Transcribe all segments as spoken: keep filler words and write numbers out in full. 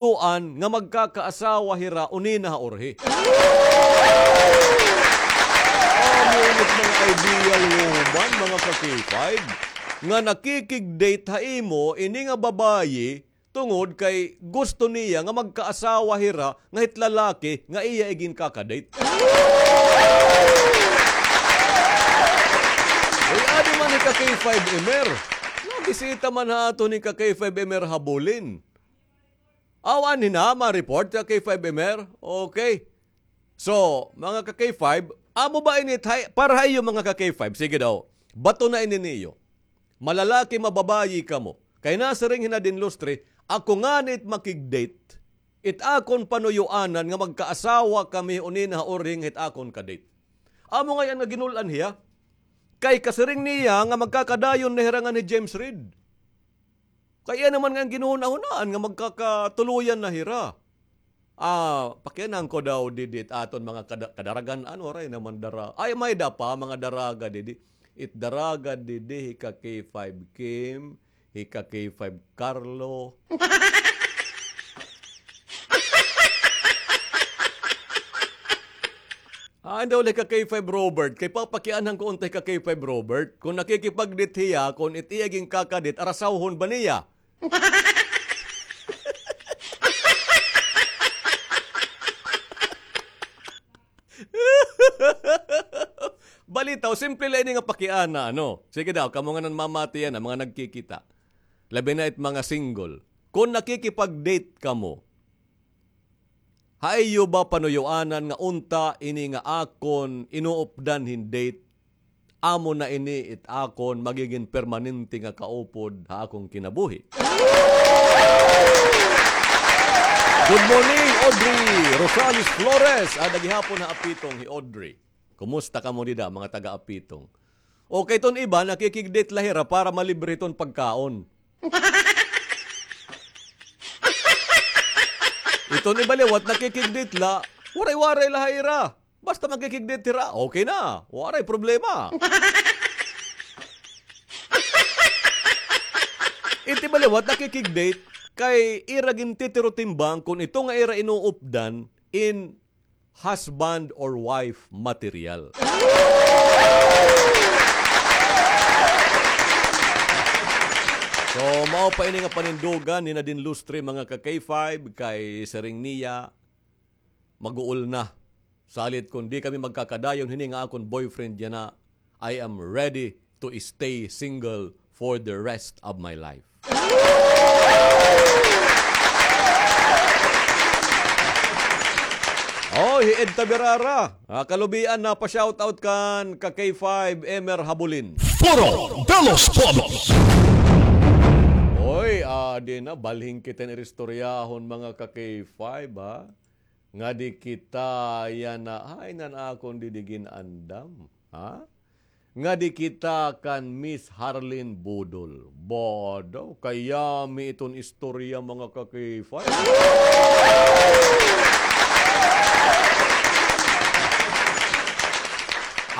tuan nga magkakaasawa hira unina ha urhi. Amo ini it mga ideal woman, mga ka-K five, nga nakikig-date ha imo ini nga babayi tungod kay gusto niya nga magkaasawa hira nga hit lalaki nga iya iginkaka-date. Uy, adi man hi ka-K five Emer. Nabisita man ha aton hi ka-K five Emer Habulin. Aw, anhi na, ma-report ka-K five Emer? Okay. So, mga ka-K five, amo ba ini, para ha iyo, mga ka-K five? Sige daw, bato na ini niyo. Malalaki, mababayi kamo. Kay nasiring hi Nadine Lustre, ako ngani it makig-date, it akon panuyoanan nga magkaasawa kami unina ha urhi nga hit akon ka-date. Amo ngay-an nga ginul-an hiya. Kay kasiring niya nga magkakadayon na hira ngan hi James Reid. Kay iya naman nga ginhunahunaan nga magkakatuloyan na hira. Ah, pakianhan ko daw didi it aton mga kada-, kadaragan-an, waray naman dara-, ay, may-ada pa, mga daraga didi. It daraga didi hi ka-K five Kim, hi ka-K five Carlo. Ah, daw la hi ka-K five Robert, kay papakianhan ko unta hi ka-K five Robert kon nakikipag-date hiya, kon it iya ginkaka-date, arasawhon ba niya? Balitaw, simple la ini nga pakiana, ano? Sige daw, kamo nga nanmamati yana, mga nagkikita. Labi na it mga single. Kon nakikipag-date kamo, ha iyo ba panuyoanan nga unta ini nga akon inuupdan hin date, amo na ini it akon magigin permanente nga kaupod ha akon kinabuhi? Good morning, Audrey Rosales Flores. Ada gihapon ha Apitong hi Audrey. Kumusta kamo dida, mga taga Apitong? Okay, iton iba, nakikig-date la hira para malibre iton pagkaon. Iton iba liwat, nakikig-date la, waray-waray la ha ira. Basta makikig-date hira, okay na. Waray problema. It iba liwat, nakikig-date, kay ira gintitirotimbang kon ito nga ira inuupdan in husband or wife material. So, mao pa ini nga panindugan ni Nadine Lustre, mga ka-K five, kay siring niya, mag-uol na. Salit kon di kami magkakadayon hini nga akon boyfriend yana, I am ready to stay single for the rest of my life. Oh, hi Ed Taberara. Ah, kalubian na pa-shoutout kan ka-K five Emer Habulin. Foro de los Pueblos. Oy, adi na, balhin kita hin istoryahon, mga ka-K five, ha? Ngadi kita yana, ay, nan akon didi gin-andam, ha? Ngadi kita kan Miss Harlene Budol. Ba daw, kayami iton istorya, mga ka-K five.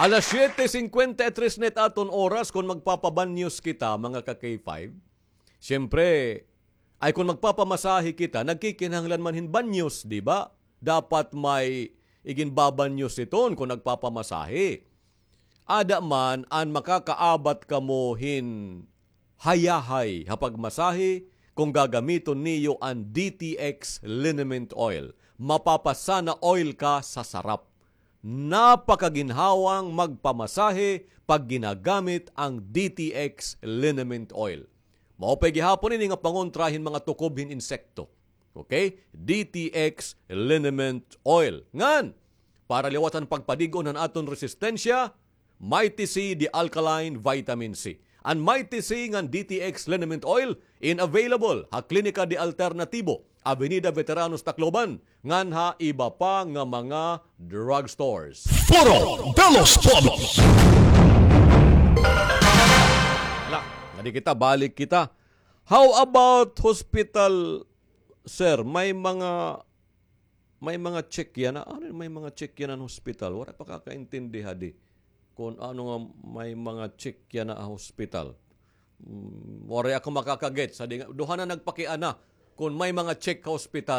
Alas siyete singkwenta y tres na it aton oras kon magpapa-bad news kita, mga ka-K five. Siyempre, ay kon magpapamasahe kita, nagkikinahanglan man hin banyos, di ba? Dapat may iginbabanyos iton kon nagpapamasahe. Ada man an makakaabat kamo hin hayahay ha pagmasahe kon gagamiton niyo an D T X liniment oil. Mapapasana oil ka sa sarap. Napakaginhawang magpamasahe pag ginagamit ang D T X liniment oil. Mao pay gihapon ini nga pangontra hin mga tukob hin insekto. Okay? D T X liniment oil. Ngan, para liwat han pagpadig-on han aton resistensya, Mighty C, the alkaline vitamin C. An Mighty C ngan D T X liniment oil in available ha Klinika de Alternatibo, Avenida Veteranos, Tacloban, ngan ha iba pa nga mga drugstores. Foro de los Pueblos. La, ngadi kita, balik kita. How about hospital, sir? May mga, may mga check yana. Ano, may mga check yana han hospital? Waray pa kakaintindi hadi kon ano nga may mga check yana ha hospital. Mm, waray ako makaka-gets. Hadi nga, duha na nagpakiana. kon may mga check ka ospital,